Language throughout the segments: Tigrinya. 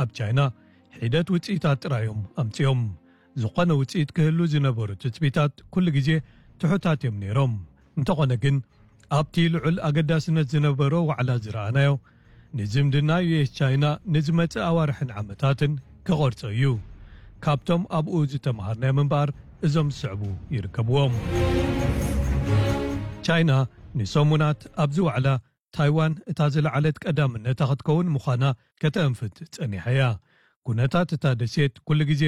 ኣብ ቻይና ሒደት ውፅኢታት ጥራዮም ኣምፅኦም። ዝኾነ ውፅኢት ክህሉ ዝነበሩ ትፅቢታት ኩሉ ግዜ ትሑታት እዮም ነይሮም። እንተኾነ ግን ኣብቲ ልዑል ኣገዳስነት ዝነበሮ ዋዕላ ዝረኣናዮ ንዝምድና ዩ ኤስ ቻይና ንዝመጽእ ኣዋርሕን ዓመታትን ክቐርጾ እዩ። ካብቶም ኣብኡ ዝተምሃርናዮም እምበኣር እዞም ዝስዕቡ ይርከብዎም። ቻይና ንሰሙናት ኣብዚ ዋዕላ ታይዋን እታ ዝለዓለት ቀዳምነታ ክትከውን ምዃና ከተእንፍት ጸኒሓ እያ። ኩነታት እታ ደሴት ኩሉ ግዜ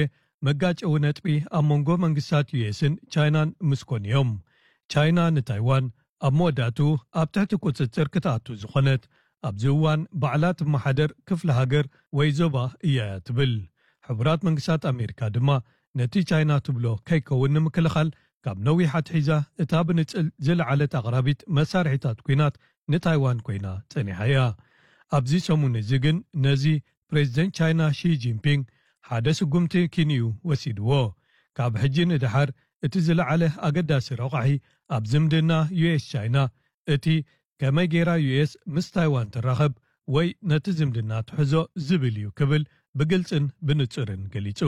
መጋጨዊ ነጥቢ ኣብ መንጎ መንግስታት ዩ ኤስን ቻይናን ምስኮን እዮም። ቻይና ንታይዋን ኣብ መወዳእቱ ኣብ ትሕቲ ቁጽጽር ክትኣቱ ዝኾነት ኣብዚ እዋን ባዕላ ትመሓደር ክፍለ ሃገር ወይ ዞባ እያ እያ ትብል። ሕቡራት መንግስታት ኣሜሪካ ድማ ነቲ ቻይና ትብሎ ከይከውን ንምክልኻል ካብ ነዊሕ ኣትሒዛ እታ ብንጽል ዝለዓለት ኣቕራቢት መሳርሒታት ኲናት ንታይዋን ኮይና ጸኒሓ እያ። ኣብዚ ሰሙን እዚ ግን ነዚ ፕሬዚደንት ቻይና ሺ ጂንፒንግ ሓደ ስጉምቲ ኪንዩ ወሲድዎ። ካብ ሕጂ ንደሓር እቲ ዝለዓለ ኣገዳሲ ረቋሒ ኣብ ዝምድና ዩ ኤስ ቻይና እቲ ከመይ ጌራ ዩ ኤስ ምስ ታይዋን ትራኸብ ወይ ነቲ ዝምድና ትሕዞ ዝብል እዩ ክብል ብግልጽን ብንጹርን ገሊጹ።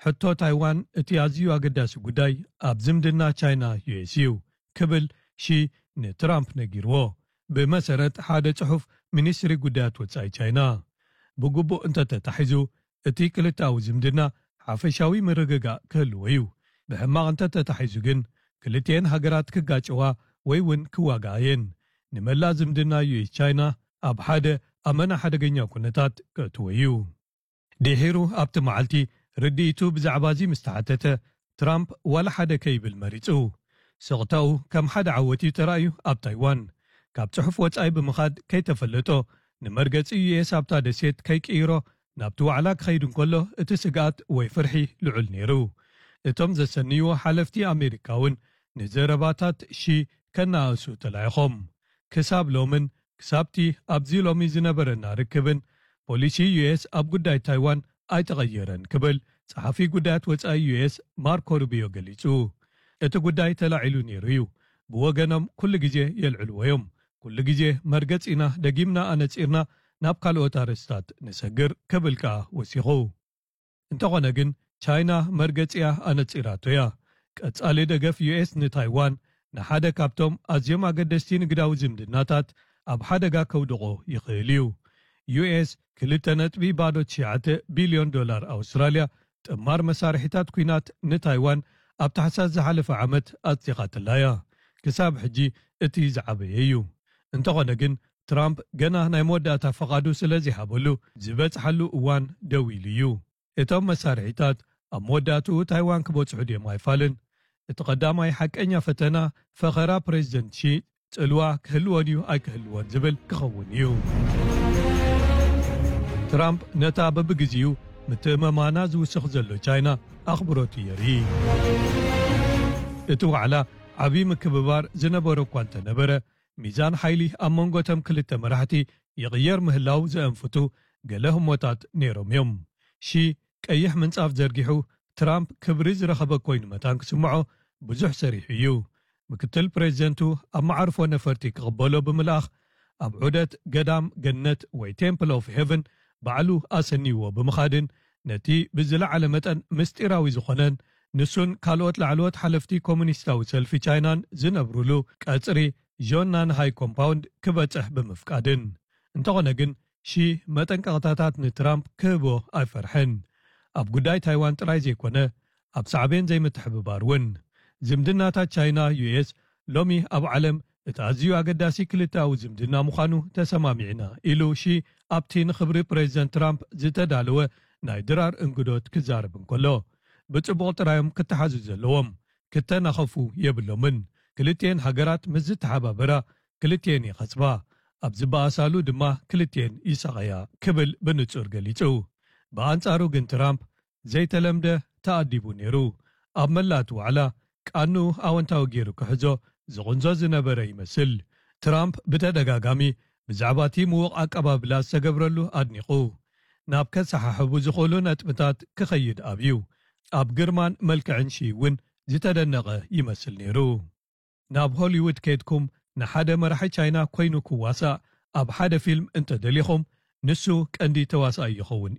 ሕቶ ታይዋን እቲ ኣዝዩ ኣገዳሲ ጉዳይ ኣብ ዝምድና ቻይና ዩ ኤስ እዩ ክብል ሺ ንትራምፕ ነጊርዎ። ብመሰረት ሓደ ጽሑፍ ሚኒስትሪ ጉዳያት ወጻኢ ቻይና ብግቡእ እንተተታሒዙ እቲ ክልተኣዊ ዝምድና ሓፈሻዊ ምርግጋእ ክህልዎ እዩ። ብሕማቕ እንተተታሒዙ ግን ክልቲኤን ሃገራት ክጋጨዋ ወይ እውን ክዋጋኣ እየን። ንመላእ ዝምድና ዩ ኤስ ቻይና ኣብ ሓደ ኣመና ሓደገኛ ኩነታት ከእትዎ እዩ። ድሒሩ ኣብቲ መዓልቲ ርድኢቱ ብዛዕባ እዚ ምስ ተሓተተ ትራምፕ ዋላ ሓደ ከይብል መሪጹ። ስቕታኡ ከም ሓደ ዓወት እዩ ተራእዩ ኣብ ታይዋን። ካብ ጽሑፍ ወጻኢ ብምኻድ ከይተፈለጦ ንመርገጺ ዩ ኤስ ኣብታ ደሴት ከይቅይሮ ናብቲ ዋዕላ ክኸይድ እንከሎ እቲ ስግኣት ወይ ፍርሒ ልዑል ነይሩ። እቶም ዘሰንይዎ ሓለፍቲ ኣሜሪካ እውን ንዘረባታት ሺ ከነኣእሱ ተላኢኾም። ክሳብ ሎምን ክሳብቲ ኣብዚ ሎሚ ዝነበረና ርክብን ፖሊሲ ዩ ኤስ ኣብ ጉዳይ ታይዋን ኣይተቐየረን ክብል ጸሓፊ ጉዳያት ወጻኢ ዩ ኤስ ማርኮ ሩቢዮ ገሊጹ። እቲ ጉዳይ ተላዒሉ ነይሩ እዩ። ብወገኖም ኩሉ ግዜ የልዕልዎ እዮም። ኩሉ ግዜ መርገጺና ደጊምና ኣነጺርና ናብ ካልኦት ኣርእስታት ንሰግር ክብል ከኣ ወሲኹ። እንተኾነ ግን ቻይና መርገጺኣ ኣነጺራቶ እያ። ቀጻሊ ደገፍ ዩ ኤስ ንታይዋን ንሓደ ካብቶም ኣዝዮም ኣገደስቲ ንግዳዊ ዝምድናታት ኣብ ሓደጋ ከውድቖ ይኽእል እዩ። ዩ ኤስ ክልተ ነጥቢ ባዶ ትሽዓተ ቢልዮን ዶላር ኣውስትራልያ ጥማር መሳርሒታት ኲናት ንታይዋን ኣብ ታሕሳስ ዝሓለፈ ዓመት ኣጽዲቓትላ እያ። ክሳብ ሕጂ እቲ ዝዓበየ እዩ። እንተኾነ ግን ትራምፕ ገና ናይ መወዳእታ ፈቓዱ ስለ ዘይሃበሉ ዝበጽሓሉ እዋን ደው ኢሉ እዩ። እቶም መሳርሒታት ኣብ መወዳእትኡ ታይዋን ክበጽሑ ድዮም ኣይፋልን። እቲ ቀዳማይ ሓቀኛ ፈተና ፈኸራ ፕሬዚደንት ሺ ጽልዋ ክህልዎ ድዩ ኣይክህልዎን ዝብል ክኸውን እዩ። ትራምፕ ነታ በብግዜኡ ምትእምማና ዝውስኽ ዘሎ ቻይና ኣኽብሮት የርኢ። እቲ ዋዕላ ዓቢ ምክብባር ዝነበሮ እኳ እንተነበረ፣ ሚዛን ሓይሊ ኣብ መንጎ እቶም ክልተ መራሕቲ ይቕየር ምህላው ዘእንፍቱ ገለ ህሞታት ነይሮም እዮም። ሺ ቀይሕ ምንጻፍ ዘርጊሑ ትራምፕ ክብሪ ዝረኸበ ኮይኑ መታን ክስምዖ ብዙሕ ሰሪሑ እዩ። ምክትል ፕሬዚደንቱ ኣብ መዓርፎ ነፈርቲ ክቕበሎ ብምልኣኽ ኣብ ዑደት ገዳም ገነት ወይ ቴምፕል ኦፍ ሄቨን ባዕሉ ኣሰንይዎ ብምኻድን ነቲ ብዝለዓለ መጠን ምስጢራዊ ዝኾነን ንሱን ካልኦት ላዕለዎት ሓለፍቲ ኮሙኒስታዊ ሰልፊ ቻይናን ዝነብሩሉ ቀጽሪ ዦናን ሃይ ኮምፓውንድ ክበጽሕ ብምፍቃድን። እንተኾነ ግን ሺ መጠንቀቕታታት ንትራምፕ ክህቦ ኣይፈርሐን። ኣብ ጉዳይ ታይዋን ጥራይ ዘይኮነ ኣብ ሳዕቤን ዘይምትሕብባር እውን። ዝምድናታት ቻይና ዩ ኤስ ሎሚ ኣብ ዓለም እቲ ኣዝዩ ኣገዳሲ ክልተኣዊ ዝምድና ምዃኑ ተሰማሚዕና ኢሉ ሺ ኣብቲ ንኽብሪ ፕሬዚደንት ትራምፕ ዝተዳለወ ናይ ድራር እንግዶት ክዛረብ እንከሎ፣ ብጽቡቕ ጥራዮም ክተሓዙ ዘለዎም፣ ክተናኸፉ የብሎምን። ክልቲኤን ሃገራት ምስ ዝተሓባበራ ክልቲኤን ይኸስባ፣ ኣብ ዝበኣሳሉ ድማ ክልቲኤን ይሳቐያ ክብል ብንጹር ገሊጹ። ብኣንጻሩ ግን ትራምፕ ዘይተለምደ ተኣዲቡ ነይሩ። ኣብ መላእ እቲ ዋዕላ ቃንኡ ኣወንታዊ ገይሩ ክሕዞ ዝቕንዞ ዝነበረ ይመስል። ትራምፕ ብተደጋጋሚ ብዛዕባ እቲ ምዉቕ ኣቀባብላ ዝተገብረሉ ኣድኒቑ፣ ናብ ከሰሓሕቡ ዝኽእሉ ነጥብታት ክኸይድ ኣብዩ። ኣብ ግርማን መልክዕን ሺ እውን ዝተደነቐ ይመስል ነይሩ። ናብ ሆሊውድ ከይድኩም ንሓደ መራሒ ቻይና ኮይኑ ክዋሳእ ኣብ ሓደ ፊልም እንተደሊኹም ንሱ ቀንዲ ተዋሳኣይ ይኸውን